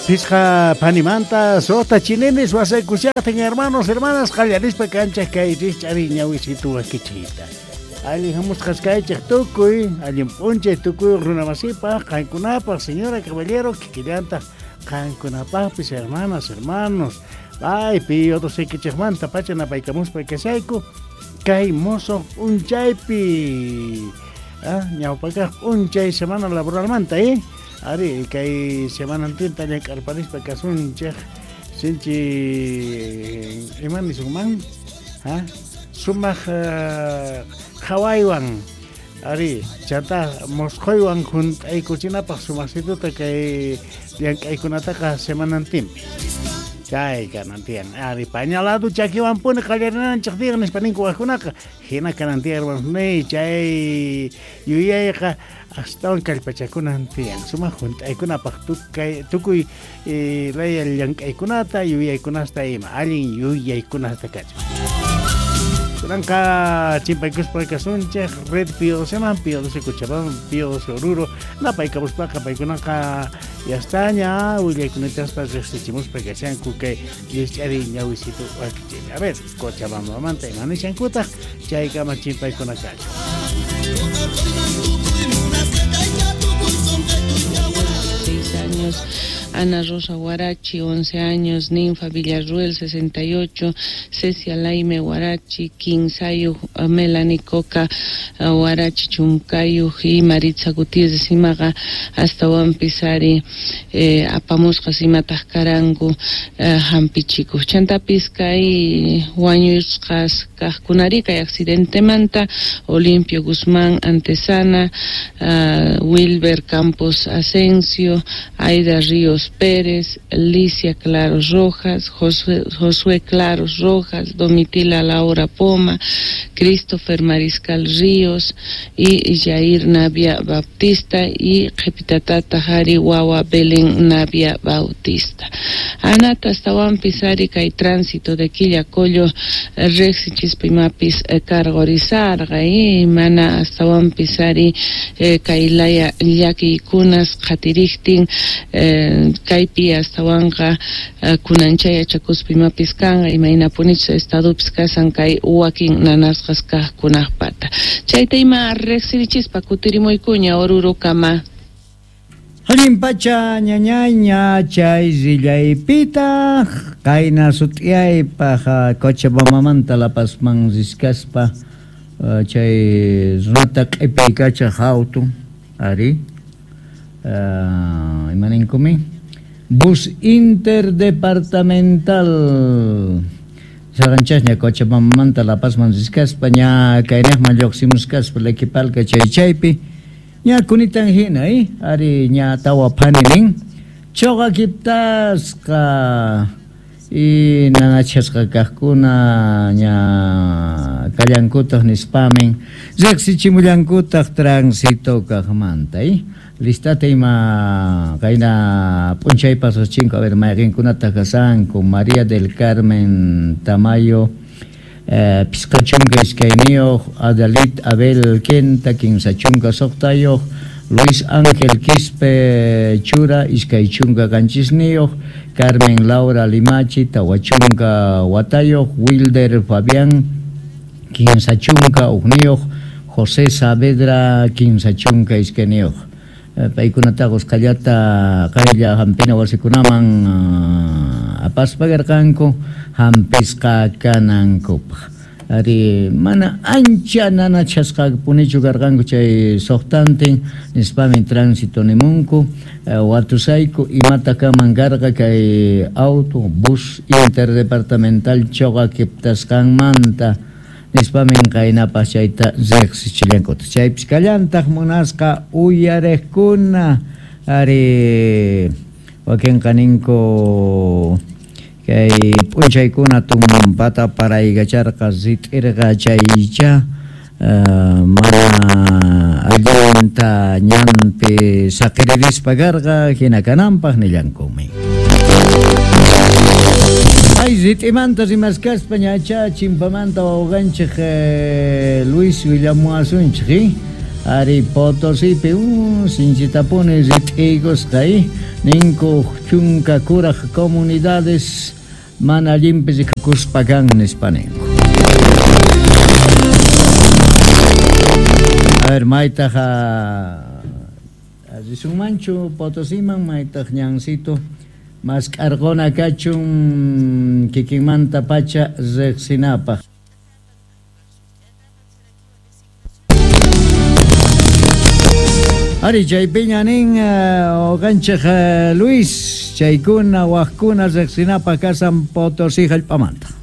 Phisqa phanimanta suqta chininis wasaykushaqtin hermanos, hermanas qallarispa kanchaq kay rikch'ariy ñawisitu wakichiyta. Allin hamusqas kaychik tukuy, allin p'unchay tukuy runamasipaq, qankunapaq, señora caballero, kikillantaq qankunapaqpis hermanas, hermanos. Ay, Pío XII pacha napaykamuspa kashayku kay mosoq p'unchaypi. Ah, ñawpakaq p'unchay semana laboralmanta, eh? Ari, kay semanantinta llank'arparispa kasunchik sinchi ima nisunman? Ha? Sumaq qhawaywan ari, chanta mosqoywan hunt'aykuchinapaq sumaqsituta kay llank'aykunataqa semanantinpi. Chay kanan tiyan. Ari, pañalado chakiwanpuni qallarinanchik tiyan nispa ninku wajkunaqa. Hina kanan tiyan hermanos, chay yuyayqa astawan kallpachakunan tiyan. Sumaq hunt'aykunapaq tukuy laya llank'aykunata, yuyaykunasta ima, allin yuyaykunasta kachun. Kunanqa chimpaykuspa kasunchik Red Pío XII man, Pío XII Cochabamba, Pío XII Oruro, napaykamuspaqa paykunaqa yastaña willaykunatasta riqsichimuspa kashanku kay rikch'ariy ñawisitu wakichiypi. A ver, Cochabambamanta ima nishankutaq chaykama chimpaykuna kachun. Años, Ana Rosa Guarachi, 11 años, Ninfa Villarruel, 68, Cecia Laime Guarachi, Quinsayo, Melanie Coca Guarachi, Chuncayo y Maritza Gutiérrez imaqa astawanpis ari apamusqas imataq karanku hampichikuq. Chantapis kay wañusqas kaqkunari kay accidentemanta Olimpio Guzmán Antesana, Wilber Campos Asensio, Aida Ríos Pérez, Licia Claros Rojas, Josué Claros Rojas, Domitila Laura Poma, Christopher Mariscal Ríos y Jair Navia Bautista y Qhipitatata Jari Wawa Belén Navia Bautista. Anata astawanpis ari kay tránsito de Quillacollo riqsichispa imapis cargorizarqa y mana astawanpis ari kay laya llakiykunas qhatiriktin kaypi astawanqa kunanchay yachakuspa imapis kanqa imaynapunichus estadopis kasan kay wakin nanasqas kaqkunaqpata. Chayta ima riqsirichispa kutirimuykuña Orurokama. Allin pacha ñañayña chay rillaypitaq qayna sut'iyaypaq Cochabambamanta La Pazman riskaspa chay runata q'ipiykachaq auto ari imaninkumi bus interdepartamental saqanchasña Cochabambamanta La Pazman riskaspa ña kayniqman lluqsimuskaspa Lequipalca chay chaypi ña kunitan hina ari ña tawa phani nin chuqa kiptasqa y nanachasqa kaqkuna ña kallankutaq nispamin riqsichimullankutaq tránsito kaqmanta listata ima qayna p'unchaypas chinko a ver mayqinkunataq kasanku María del Carmen Tamayo pisqa chunka iskayniyuq Adalit Abel Quenta kinsa chunka suqtayuq Luis Ángel Quispe Chura iskay chunka qanchisniyuq Carmen Laura Limachi tawa chunka watayuq Wilder Fabián kinsa chunka uqniyuq José Saavedra kinsa chunka iskayniyuq paykunataqa usqhallata qaylla hampina wasikunaman apaspa karqanku hampisqa kanankupaq ari mana ancha nanachasqapunichu karqanku chay suqtantin nispamin tránsito nimunku watusayku imata kaman karqa kay auto bus interdepartamental chuqa kiptasqanmanta nispamin qaynapaq chayta riqsichillankuta chaypis kallantaq munasqa uyariqkuna ari wakinqa ninku kay p'unchaykuna tumpata paraykacharqa rit'irqa chaycha mana allinta ñanpi saqiririspa karqa hina kananpaq nillankumi. Ay rit'imanta rimaskaspa ñacha chimpamanta wawqanchik Luis willamuwasunchik ari Potosipi sinchitapuni rit'iykusqa. Ninku chunka kuraq comunidades mana allinpi rikukuspa kan nispa ninku. A ver, maytaq risunmanchu Potosiman, maytaq ñancito mask'arquna kachun kikinmanta pacha riqsinapaq. Ari chaypiña nin uqanchik Luis chaykuna waqkuna riqsinapaq kasan Potosí hallp'amanta.